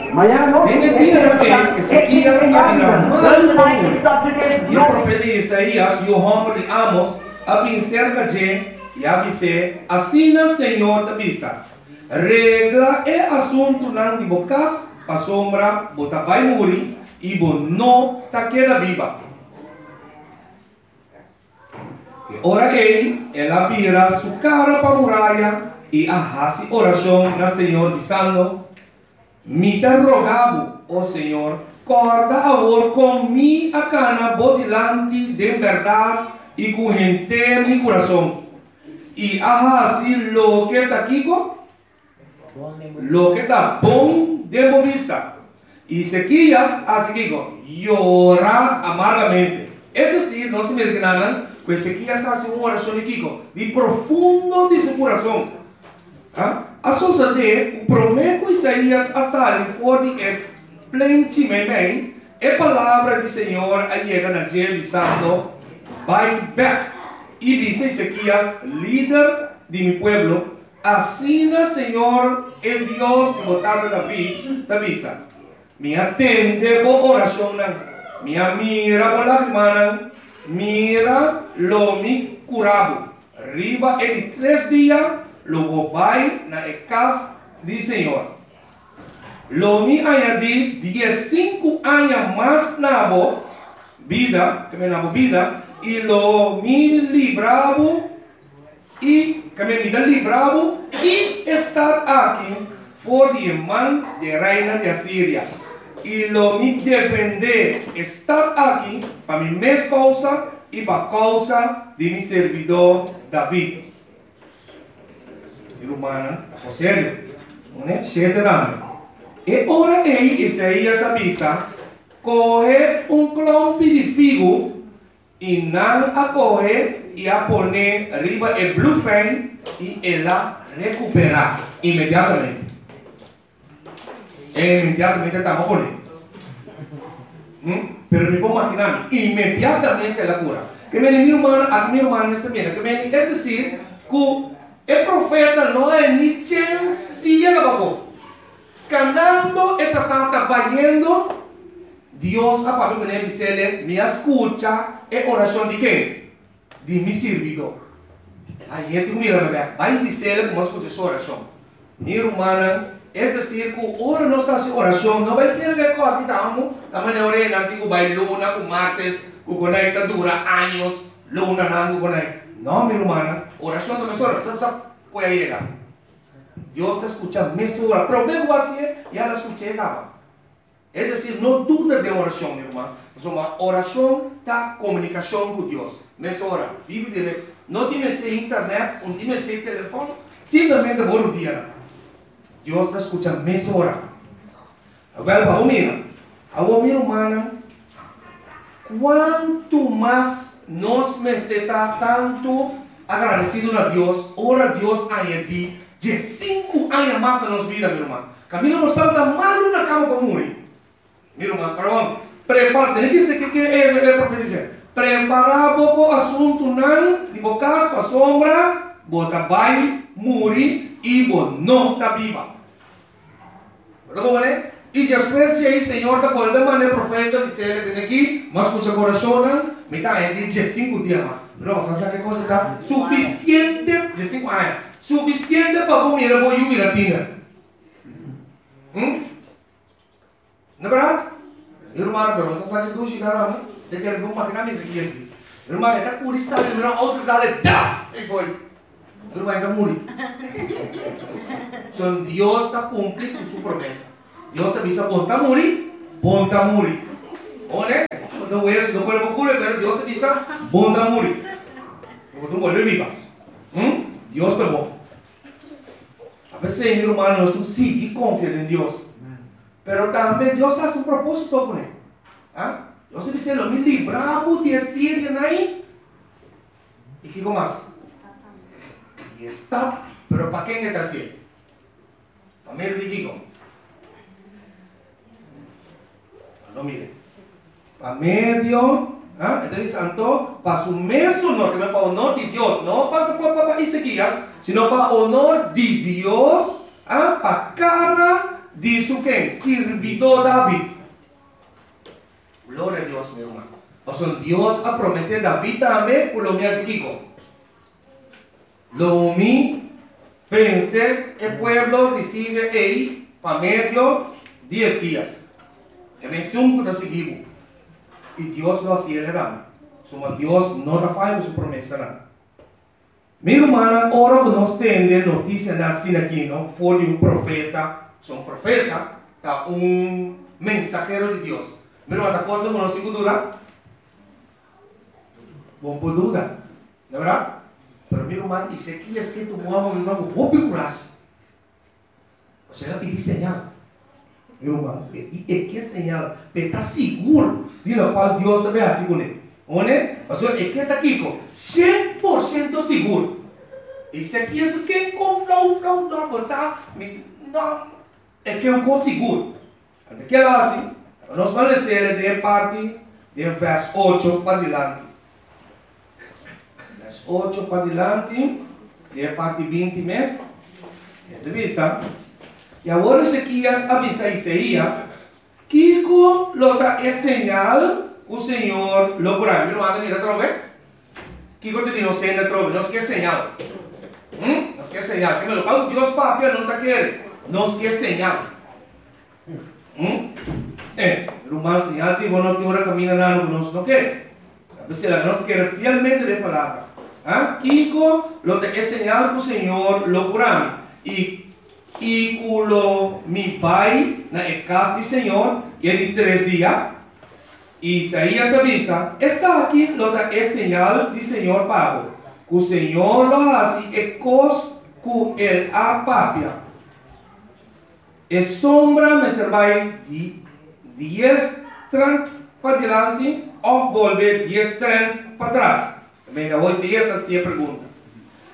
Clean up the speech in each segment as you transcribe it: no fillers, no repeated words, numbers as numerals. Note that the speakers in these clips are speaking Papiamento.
Den e dianan ei Ezekias a bira malu pa muri, i e profeta Isaías, yu hòmber di Amos, a bin serka dje i a bis'é, Asina señor ta bisa, Regla e asuntunan di bo kas, pasobra bo ta bai muri i bo no ta keda biba. E ora ei el a bira su kara pa muraya i a hasi orashon na Señor bisando, Mi ta roga bo, o Señor, kòrda awor kon mi a kana bo dilanti den bèrdat i ku henter mi kurason, i a hasi loke ta kiko? Loke ta bon den bo bista. I Ezekias a hasi kiko? Yora amargamente. Es desir, nos ta mira kinanan ku Ezekias a hasi un orashon di kiko? Di profundo di su kurason. A sosodé ku promé ku Isaías a sali for di e plenchi meimei, e palabra di señor a yega na dje bisando, Bai bèk i bisa Ezekias, lider di mi pueblo, Asina Señor, e Dios di bo tata David, ta bisa, Mi a tende bo orashonnan, mi a mira bo lagrimanan, mira, lo mi kura bo. Riba e di tres dia lo bo bai na e kas di Señor. Lo mi añadí diesinku aña mas na bo bida, na bo bida, i lo mi libra bo I kami mi ta libra bo i e stat aki for di e man di e reina di Asiria, i lo mi defendé e stat aki pa mi mes kousa i pa kousa di mi sirbidó David. Mi rumannan, ta por serio. Pone shete tambe. E ora ei Isaías a bisa, Kohe un klompi di figu I nan a kohe i a pon'é riba e blufein i el a rekuperá inmediatamente. E inmediatamente tamba pon'é. Hm? Pero mi por maginá mi, inmediatamente el a kura. Ke meni mi rumannan, aki mi rumannan mester mira, ke meni es desir ku e profeta no a ni chens di yega pafó. Kanando e ta tata bayendo, Dios a papia ku nan i bis'el, Mi a skucha e orashon di ken? Di mi sirbidó. Ai hende ku mira mi bek, bai bis'el ku mi a skucha su orashon. Mi rumannan, es desir ku ora nos hasi orashon, no bai kere ku e kòrti ta amu, ta manera ora e nan tin ku bai luna ku martes ku konai ta dura años, lunanan ku konai. No, mi rumannan, orashon ta mesora, sa sa ku a yega. Dios ta skucha mesora. Promé ku bo hasié, ya el a skuch'é kaba. Es desir, no duda den orashon, mi ruman, pasobra orashon ta komunikashon ku Dios. Mesora, bibi direkt. No tin mester internet, un tin mester telefòn, simplemente bo rudianan. Dios ta skucha mesora. Awel, pa bo mira, awor mi rumannan, kuantu mas nos mester ta tantu agradesido na Dios ora Dios añadí diesinku aña mas na nos bida, mi ruman. Kaminda nos tabata malu na kama pa muri, mi ruman, pero awor, prepara, tene ki ke ke e profeta dise, prepará bo bo asuntunan di bo kas pasobra bo ta bai muri i bo no ta biba. Bo ta komprendé? I despues djei Señor ta bolbe manda e profeta bis'el, Tene aki, mas skucha bo orashonnan, mi ta haña di diesinku dia mas. Pero bo sa sa ke kos ta sufisiente, diesinku aña, sufisiente pa bo mira bo yu bira tiner. Hm? No berdad? Mi ruman, pero bo sa sa ke dushi ta na mi? De kere bo makina mi esaki esaki. Mi ruman, e ta kuri sali, mi ruman otro dale, da! Ei foi. Mi ruman, e ta muri. So Dios ta kumpli ku su promesa. Dios a bisa bon ta muri, bon ta muri. One, no wees, no kuerpo kure, pero Dios a bisa bon ta muri. Bo ta bolbe biba. Hm? Dios ta bon. A pesey, mi ruman, nos tur sigui konfia den Dios. Pero tambe Dios a hasi un propósito kuné. Ah? Dios a bis'é, Lo mi libra bo di e sirianan ei. I kiko mas? Di e stat. Pero pa ken e ta hasié? Pa medio di kiko? No mire. Pa medio, ah, e ta bisa anto, pa su mes honor, ke men pa honor di Dios, no pa pa pa pa Ezekias, sino pa honor di Dios, ah, pa kara. di su ken? Sirbidó David. Gloria a Dios, mi ruman. Pasobra Dios a prometé David tambe ku lo mi hasi kiko? Lo mi vense e pueblo di Siria ei pa medio di Eskias, e mesun ku ta sigui bo. I Dios lo hasi el tambe. Suma Dios no ta faya ku su promesanan. Mi rumannan, ora ku nos tende notisianan asina aki no for di un profeta, pasobra un profeta ta un mensahero di Dios. Mi ruman, ta cosa ku nos tin ku duda? Bon por duda, no berdad? Pero mi ruman Ezekias ke tumu amo mi ruman ku hopi kurashi. Pasobra el a pidi señal. Mi ruman, i e ke señal pa e ta sigur di lokual Dios ta bai hasi kuné. One? Pasobra e ke ta kiko? 100% sigur. Ezekias no ke kon flou flou no, bo sa, mi no, e ke un kos sigur. Anto ke el a hasi? Nos ban les'é den e parti den vers ocho padilanti. Vers ocho padilanti, den e parti 20 mes, e ta bisa, I awor Ezekias a bisa Isaías, Kiko lo ta e señal ku Señor lo kura mi? Mi ruman ta mira atrobe? Kiko ta di nos hende atrobe? Nos ke señal. Hm? Nos ke señal. Ke lokual ku Dios papia no ta kere. Nos ke señal. Hm? Eh, ruman, señal tin bo no tin ora kaminda nano ku nos no kere. Ta p'esei laga nos kere fielmente den palabra. Ha? Kiko lo ta e señal ku Señor lo kura mi i i ku lo mi bai na e kas di Señor e di tres dia? Isaías a bisa, Esaki lo ta e señal di Señor pa bo, ku Señor lo hasi e kos ku el a papia. E sombra mester bai di dies trent padilanti òf bolbe dies trent patras? Mira, awor Isaías ta hasi e pregunta.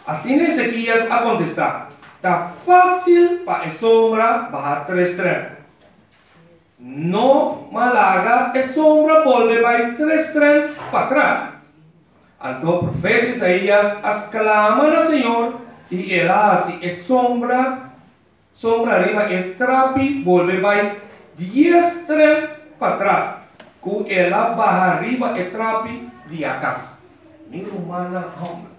Asina Ezekias a kontestá, Ta fásil pa e sombra baha tres trent. No malaga e sombra bolbe bai tres trent patras. Anto profeta Isaías a sklama na Señor i el a hasi e sombra Sombra riba e trapi bolbe bai dies tren patras ku el a baha riba e trapi di Akas. Mi rumannan hòmber.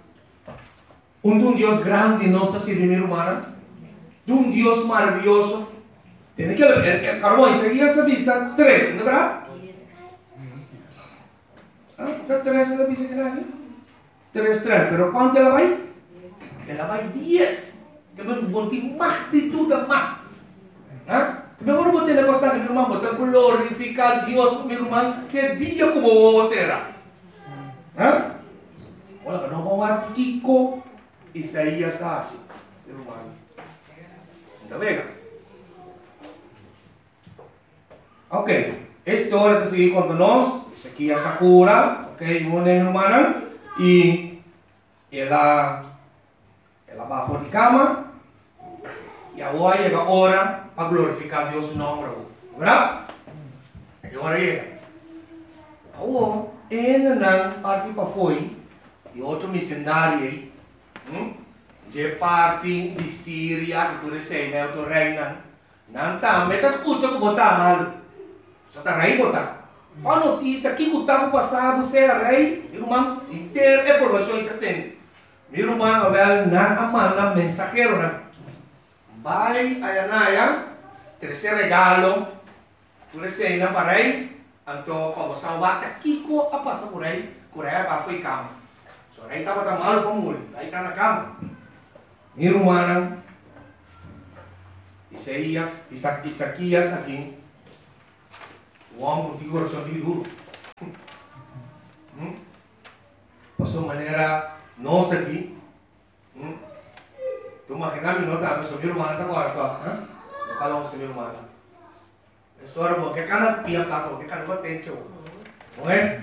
Un ta un Dios grandi nos ta sirbi mi rumannan. Ta un Dios maravioso. Tene ke e karbon Isaías ta bisa tres, no ta berdad? Ah, ta tres el a bisa kila aki? Tres tren, pero kuantu el a bai? El a bai dies. Ke men bo tin magnitud a mas. Ha? Ke men ora bo tene kos taki, mi ruman, bo ta glorifiká Dios, mi ruman, te dia ku bo wowo sera. Ha? Ora ka no bo wak kiko Isaías a hasi, mi ruman. N ta bega. Ok, e historia ta sigui konta nos, Ezekias a kura, ok, mi rumannan, i el a el a baha for di kama, i awor a yega ora pa glorifiká Dios su nòmber awor, bèrdat? E ora a yega. Awor, e hendenan parti pafó ei, i otro misendario ei, dje parti di Siria ku tur esei, na e otro reinan, Nan tambe ta skucha ku bo ta malu. Sa ta rei bo ta. Pa notisia kiko ta ku pasa bo sea rei, mi ruman, henter e poblashon i ta tende. Mi ruman awel nan a manda mensaheronan bai aya na aya trese regalo tur eseinan pa rei, anto pa bo sa wak ta kiko a pasa ku rei, ku rei a bai fo'i kama. So rei tabata malu pa muri, rei ta na kama. Mi rumannan, Isaías, Isa, Isaquías aki, un hòmber ku tin kurason di duru. Hmm? Pasobra manera nos aki, hmm? Tu imaginá mi no ta, pasobra mi rumannan ta kòrda tòg, ha? No kala un mi rumannan. Esora bo ke kana pia plaka, bo ke kana bo tencho. No e?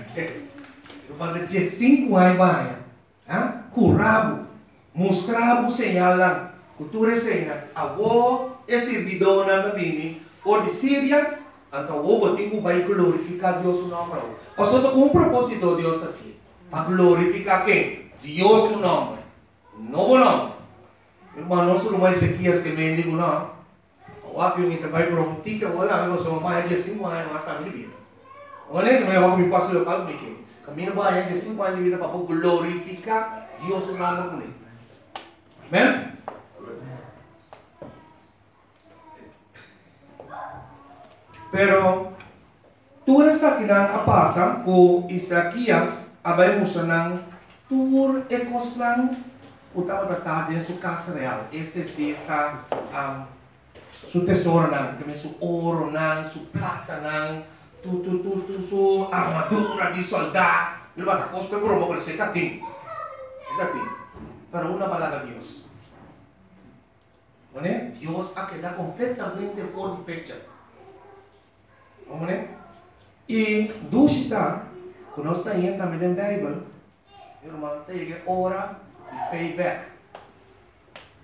Ruman ta 15 aña baña. Ha? Kura bo. Mustra bo señalnan ku tur eseinan. Awor e sirbidónan ta bini for di Siria, anto awor bo tin ku bai glorifiká Dios su nòmber awor. Pasobra ta ku un propósito Dios ta hasié, pa glorifiká ken? Dios su nòmber, no bo nòmber. Mi ruman, nos ruman Ezekias ke mendi ku no. Wak mi ta bai broma un tiki awor ami pasobra mi a haña 15 aña mas tambe di bida. Ora mi wak mi paso local ku mi ke. Kaminda bo haña 15 aña di bida pa bo glorifiká Dios su nòmber kuné. Amen? Pero tur esakinan a pasa ku Isakias a bai mustra nan tur e kosnan ku tabata ta den su kas real, es desir ta su tesoronan, ta su oronan, su platanan, tur tur tur tur su armadura di soldá. Mi tabata kos ku e broma ku e ta tin, e ta tin. Pero unda palabra Dios? Mane? Dios a keda kompletamente for di picture. Mane? I dushi ta ku nos ta haña tambe den Beibel, mi ruman, ta yega e ora di pay back.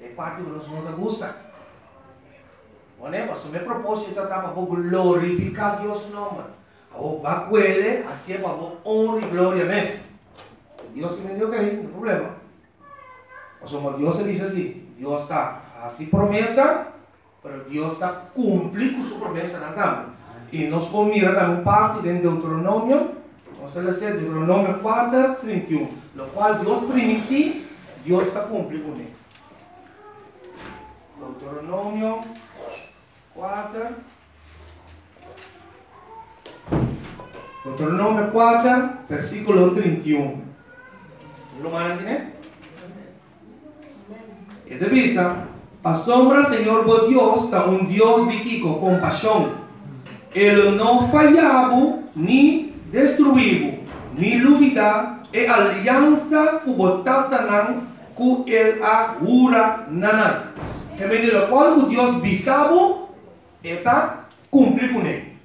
E parti ku nos no ta gusta. Mane? Pasobra e propósito ta pa bo glorifiká Dios su nòmber. Awor ba kuele hasié pa bo honra i gloria mes. Dios ki mende okey, no problema. Pasobra Dios a bisa si, Dios ta hasi promesa, pero Dios ta kumpli ku su promesanan tambe. I nos por mira tambe un parti den Deuteronomio, nos ta lesa Deuteronomio 4, 31, lokual Dios primintí, Dios ta kumpli kuné. Deuteronomio 4, Deuteronomio 4, versíkulo 31. Rumannan tine? E ta bisa, Pasobra Señor bo Dios ta un Dios di kiko? Kompashon. E lo no faya bo ni destruí bo, ni lubidá e aliansa ku bo tatanan ku el a hura na nan. E mende lokual ku Dios bisa bo, E ta kumpli kuné.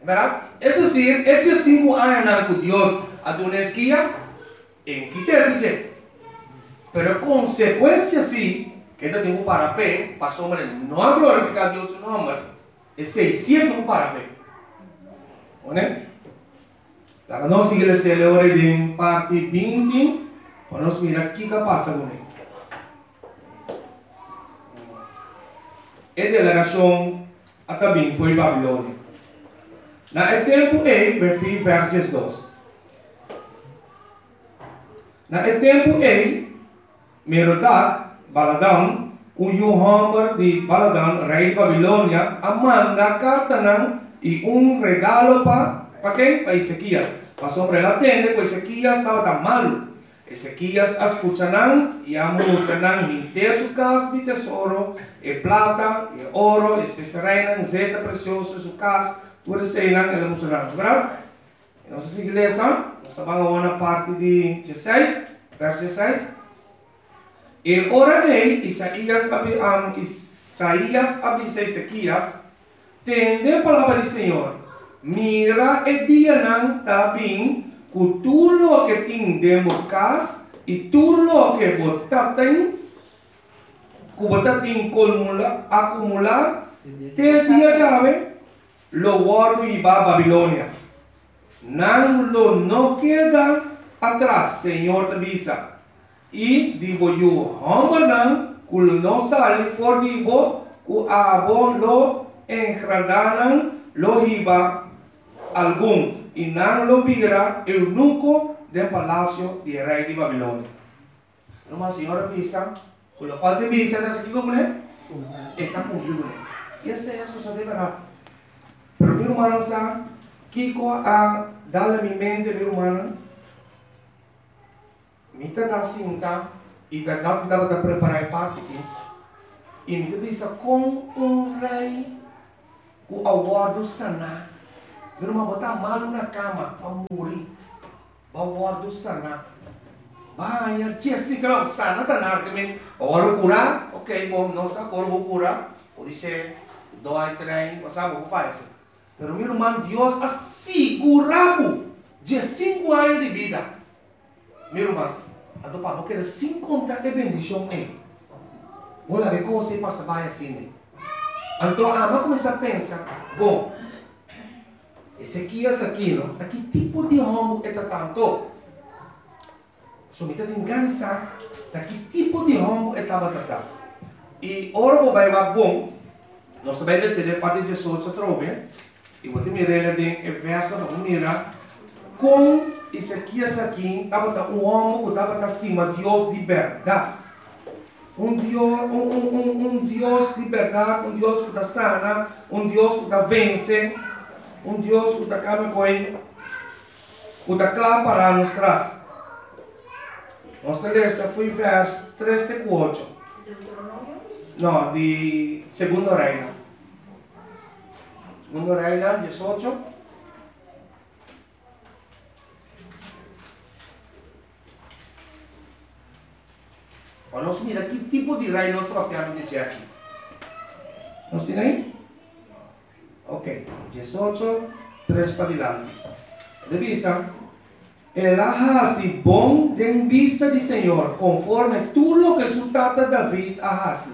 Bèrdat? Es desir, e diesinku añanan ku Dios a duna Eskias, en ki tempu dje? Pero e konsekuensia si, ku e ta tin ku para p'e, pasobra e no a glorifiká Dios su nòmber, esei si e tin ku para p'e. Oné? Laga nos sigui lesa e ora ei den parti 20 pa nos mira kiko a pasa kuné. E delegashon a ta bin fo'i Babilonia. Na e tempu ei, Berfí vèrs 12. Na e tempu ei, Merodak Baladan, un yu hòmber di Baladan, rei di Babilonia, a manda kartanan i un regalo pa pa ken? Pa Ezekias, pasobra el a tende ku Ezekias tabata malu. Ezekias a skucha nan i a mustra nan henter su kas di tesoro, e plata, e oro, e spesereinan, zeta presioso, su kas, tur eseinan el a mustra nan. Bèrdat? I nos a sigui lesa, nos ta ban awor na parti di dieseis, vèrs dieseis. E ora ei Isaías a Isaías a bisa Ezekias, Tende palabra di Señor, Mira e dianan ta bin ku tur loke tin den bo kas i tur loke bo ta tin ku bo ta tin akumulá te dia djawe lo wòrdu hibá Babilonia. Nan lo no keda atras, Señor ta bisa, I di bo yu hòmbernan ku lo no sali for di bo, ku abo lo engradá nan, lo hiba algun, i nan lo bira eunuko den palasio di e rei di Babilonia. Ruman, Señor a bisa ku lokual ta bisa ta hasi kiko kuné? E ta kumpli kuné. I esei a sosodé bèrdat. Pero mi rumannan sa kiko a dal na mi mente, mi rumannan? Mi ta da sinta i bèrdat mi tabata prepará e parti aki i mi ta bisa kon un rei ku a wòrdu saná, mi ruman bo ta malu na kama pa muri, bo a wòrdu saná, bo a haña Jessica no sana ta nada ke men bo a wòrdu kurá, ok bo no sa ora bo kura por dice doi trein bo sa bo por faya esei pero mi ruman Dios a sigurá bo 15 aña di bida. Mi ruman, anto pa bo keda sin konta e bendishon ei, bo laga e kos ei pasa bai asina. Anto ami a kuminsá pensa, Bon, Ezekias aki no, ta ki tipo di hòmber e ta ta anto? So mi ta tin gana di sa ta ki tipo di hòmber e tabata ta. I ora bo bai wak bon. Nos ta bai lesa den parti 18 atrobe, i bo ta mira el den e verso pa bo mira kon Ezekias aki tabata un hòmber ku tabata stima Dios di bèrdat. Un Dios, un, un, un, un Dios di bèrdat, un Dios ku ta sana, un Dios ku ta vense, un Dios ku ta kaba ku e, ku ta kla pará nos tras. Nos ta lesa fo'i vèrs tres te ku ocho. Deuteronomio? No, di Segundo Reina. Segundo Reina, 18. Pa nos mira ki tipo di rei nos ta papiando di dje aki. Nos tin ei? Ok, 18, tres padilanti. E ta bisa, El a hasi bon den bista di Señor, konforme tur loke su tata David a hasi.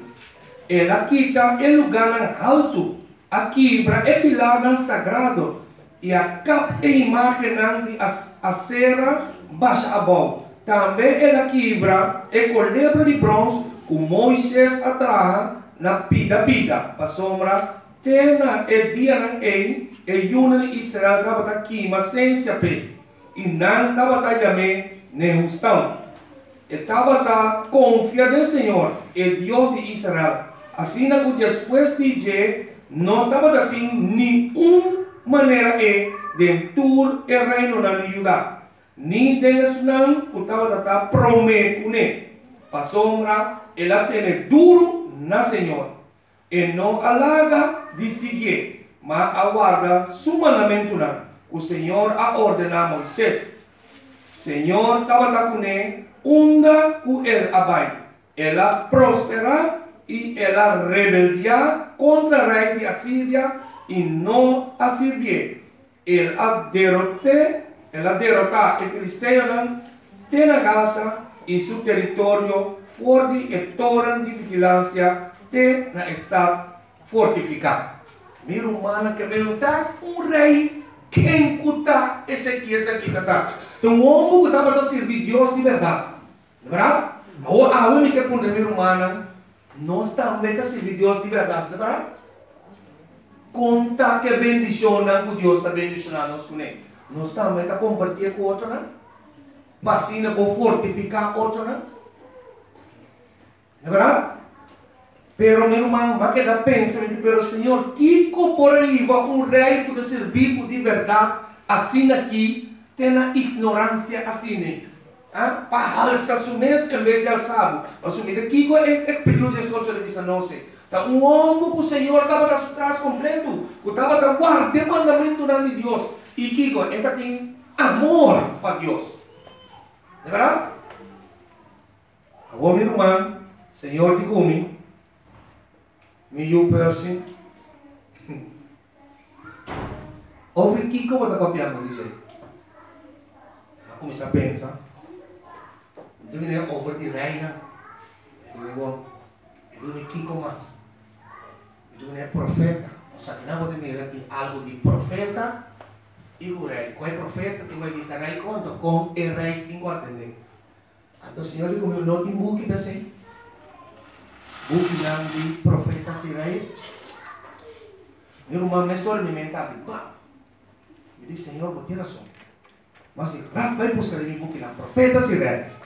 El a kita e lugánan haltu, a kibra e pilarnan sagrado i a kap e imágennan di Asera basha abou. Tambe el a kibra e kolebra di brons ku Moises a traha na pida pida, pasobra Te na e dianan ei, e yunan di Israel tabata kima sensia p'e, i nan tabata yam'é Nehustan. E tabata konfia den Señor, e Dios di Israel, asina ku despues di dje no tabata tin niun manera e den tur e reinonan di Juda, ni den esnan ku tabata ta promé kuné, pasobra el a tene duru na Señor, E no a laga di siguié, ma a warda su mandamentunan ku Señor a ordená Moises. Señor tabata kuné unda ku el a bai. El a prosperá i el a rebeldiá kontra rei di Asiria i no a sirbié. El a derot'é, el a derotá e filisteonan te na Gaza i su teritorio for di e toren di vigilansia te na e stat fortifiká. Mi rumannan ke men ta un rei, ken ku ta Ezekias aki ta ta? Ta un homber ku tabata sirbi Dios di bèrdat. Bèrdat? Awor awe mi ke puntra mi rumannan, nos tambe ta sirbi Dios di bèrdat, no ta bèrdat? Kon ta ku e bendishonnan ku Dios ta bendishoná nos kuné? Nos tambe ta kompartié ku otronan? Pa asina por fortifiká otronan? No ta bèrdat? Pero mi ruman, bo a keda pensa, mi di, pero Señor, kiko por a hiba un rei ku ta sirbi bo di bèrdat asina aki te na ignoransia asina? A Pa halsa su mes en bes di halsa bo. Pasobra mi ta kiko e kapítulo 18 ta bisa nos ei. Ta un hòmber ku Señor tabata su tras kompletu, ku tabata warda e mandamentunan di Dios. I kiko? E ta tin amor pa Dios. Di bèrdat? Awor mi ruman, Señor di ku mi, mi yu Percy. Over kiko bo ta papiando di dje? Mi a kuminsá pensa. Mi ta bini over di reina. Mi ta bini bon, mi ta bini kiko mas? Mi ta bini e profeta. Osea, kinan bo ta mira tin algu di profeta i ku rei. Kon e profeta tin ku a bisa rei konto? Kon e rei tin ku atendé? Anto Señor di ku mi no tin buki p'esei, bukinan di profetas i reis. Mi ruman mesora mi mente a abri, bam! Mi di, Señor, bo tin rason. Mi a si rap bai buska den mi bukinan profetas i reis.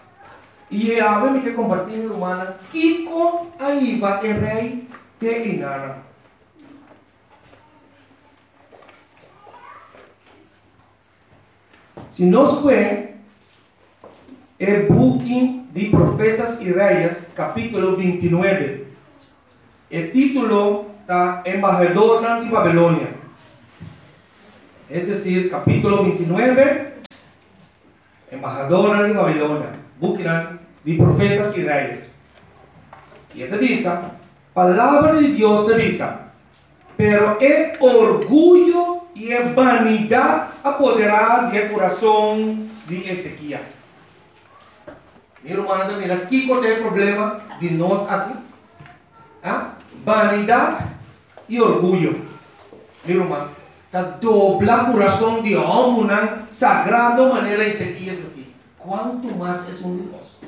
I e awe mi ke kompartí mi rumannan kiko a hiba e rei te einanan. Si nos kue e buki di Profetas i Reyes, kapítulo 29, e título ta Embahadornan di Babilonia. Es desir, kapítulo 29, Embahadornan di Babilonia, bukinan di Profetas i Reyes. I e ta bisa, Palabra di Dios ta bisa, Pero e orguyo i e banidat a poderá di e kurason di Ezekias. Mi rumannan ta mira kiko ta e problema di nos aki? Ha? Banidat i orguyo. Mi ruman, ta dobla kurason di hòmbernan sagrado manera Ezekias aki. Kuantu mas esun di nos?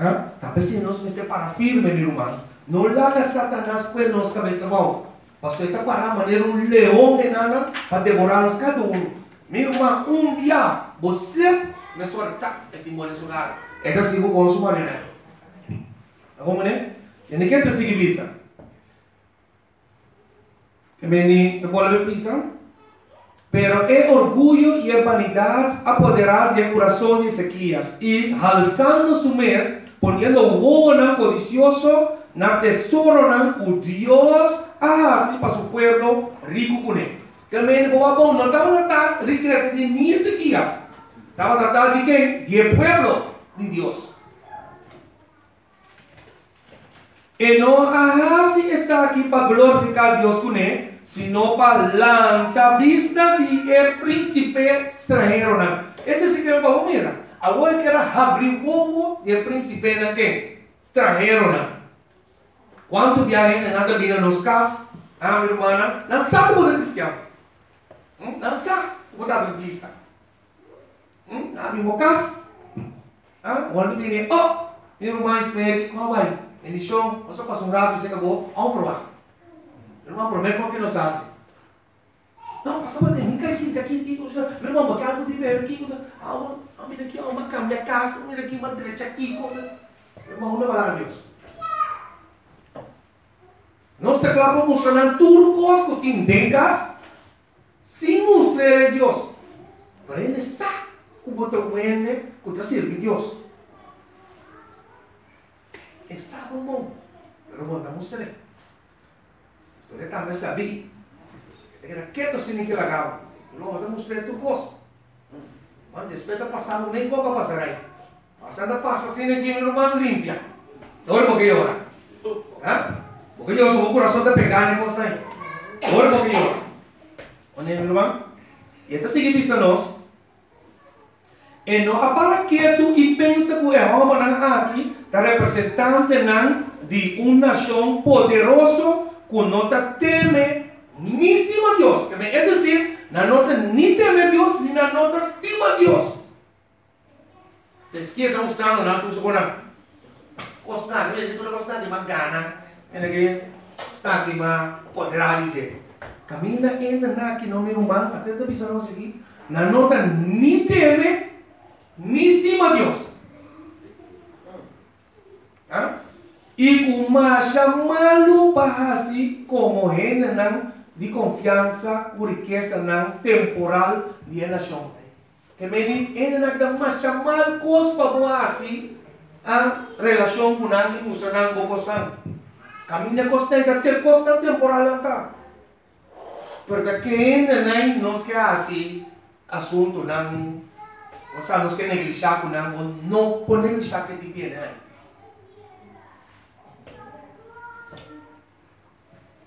Ha? Ta p'esei nos mester para firme, mi ruman. No laga Satanas kue nos kabes abou, pasobra e ta pará manera un leon enana pa devorá nos kada unu. Mi ruman, un bia bo slip, mesora tsak, e tin bo den su gara. E ta sigui bo kon su marioneta. Ta komprendé? Tende ke ta sigui bisa. E meni ta bolbe bisa, Pero e orguyo i e banidat a poderá di e kurason di Ezekias, i halsando su mes, poniendo wowonan kodisioso na tesoronan ku Dios a hasi pa su pueblo riku kuné. Ke meni bo a bon no tabata ta rikesa di ni Ezekias, tabata ta di ken? Di e pueblo di Dios. E no a hasi esaki pa glorifiká Dios kuné, sino pa lanta bista di e prínsipe stranheronan. Es desir ke pa bo mira, awor e kier a habri wowo di e prínsipenan ken? Stranheronan. Kuantu bia hendenan ta bini na nos kas, ah, mi rumannan, nan sa ku bo ta kristian. Nan sa ku bo ta adventista. Nan a bin bo kas. Ah, ora tu bini, oh, mi ruman Ismeri, kon a bai? Bendishon, nos a pasa un ratu serka bo, aun proba. Mi ruman, promé kon ke nos ta hasi? No, pasa bo den, mi kai sinta aki, aki, mi ruman, bo ke algu di bebe, kiko? Ah, bo, mira aki, mi a kambia kas, mira aki, mi a drecha kiko. Mi ruman, unda bo a laga Dios? Nos ta kla pa mustra nan tur kos ku tin den kas, Sin mustr'é Dios. Pero hende sa ku bo ta un hende ku ta sirbi Dios. E sa bon bon, pero bo no ta mustr'é. Pasobra e tambe sabí. E ta keda ketu sin ni ke laga bo. Pero bo ta mustr'é tur kos. Man, despues ta pasa bo mei poko a pasa rei. Pasa ta pasa asina ki mi ruman limpia. Ora bo ke yora. Ha? Bo ke yora so bo kurason ta pegá na e kos ei. Ora bo ke yora. Oné mi ruman? I e ta sigui bisa nos, E no a para ketu i pensa ku e hòmbernan aki ta representantenan di un nashon poderoso ku no ta teme ni stima Dios. Es desir, nan no ta ni teme Dios ni nan no ta stima Dios. Ta izquierda mustrando nan tur su konan. Kosnan, mi mester tur e kosnan di mas gana, en ke kosnan di mas poderá di dje. Kaminda enda nan aki no mi ruman, ate ta bisa nos aki, nan no ta ni teme ni stima Dios. Ha? I ku masha malu pa hasi komo hendenan di konfiansa ku rikesanan temporal di e nashon. Te medi hendenan ki ta masha mal kos pa bo hasi a relashon ku nan i mustra nan bo kosnan. Kaminda kosnan ta te kosnan temporal nan ta. Pero ta ke hendenan i nos ke hasi asuntunan, osea nos ke neglisha ku nan, bo no por neglisha ke tipo hendenan.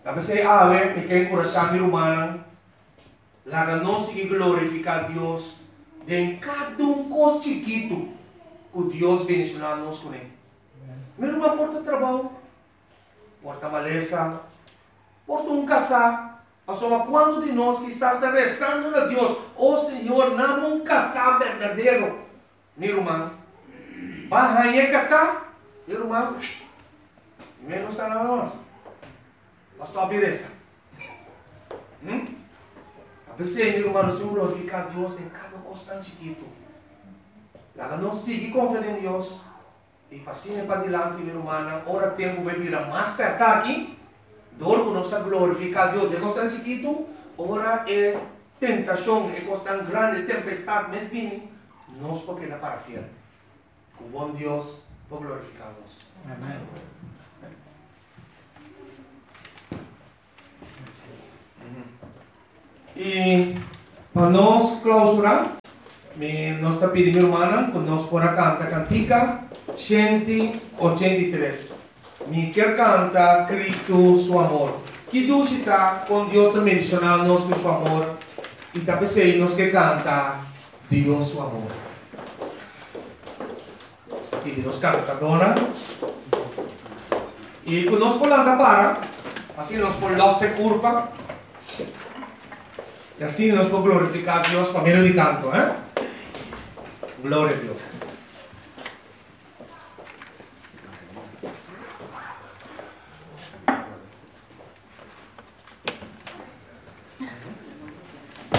Ta p'esei awe mi ke enkurashá mi rumannan, laga nos sigui glorifiká Dios den kada un kos chikitu ku Dios bendishoná nos kuné. Mi ruman por ta trabou, por ta malesa, por ta un kasá, pasobra kuantu di nos kisas ta resando na Dios, O Señor, nami un kasá berdadero. Mi ruman, ba haña e kasá? Mi ruman, mi no sa nada mas. Ba stòp di resa. Hm? Ta p'esei, mi ruman, nos tin glorifiká Dios den kada kos tan chikitu. Laga nos sigui konfia den Dios i pa asina padilanti, mi rumannan, ora tempu bai bira mas pèrtá aki, dor ku nos a glorifiká Dios den kos tan chikitu, ora e tentashon, e kos tan grandi, e tempestat mes bini, Nos por keda para fiel. Ku bon Dios por glorifiká nos. Amen. I pa nos klausurá, mi nos ta pidi mi rumannan ku nos por a kanta kantika 183. Mi kier kanta Kristu su amor. Ki dushi ta kon Dios ta bendishoná nos ku su amor i ta p'esei nos ke kanta Dios su amor. Nos ta pidi nos kantadónan i ku nos por lanta para, asina nos por lòs e kurpa i asina nos por glorifiká Dios pa medio di kanto. Gloria a Dios.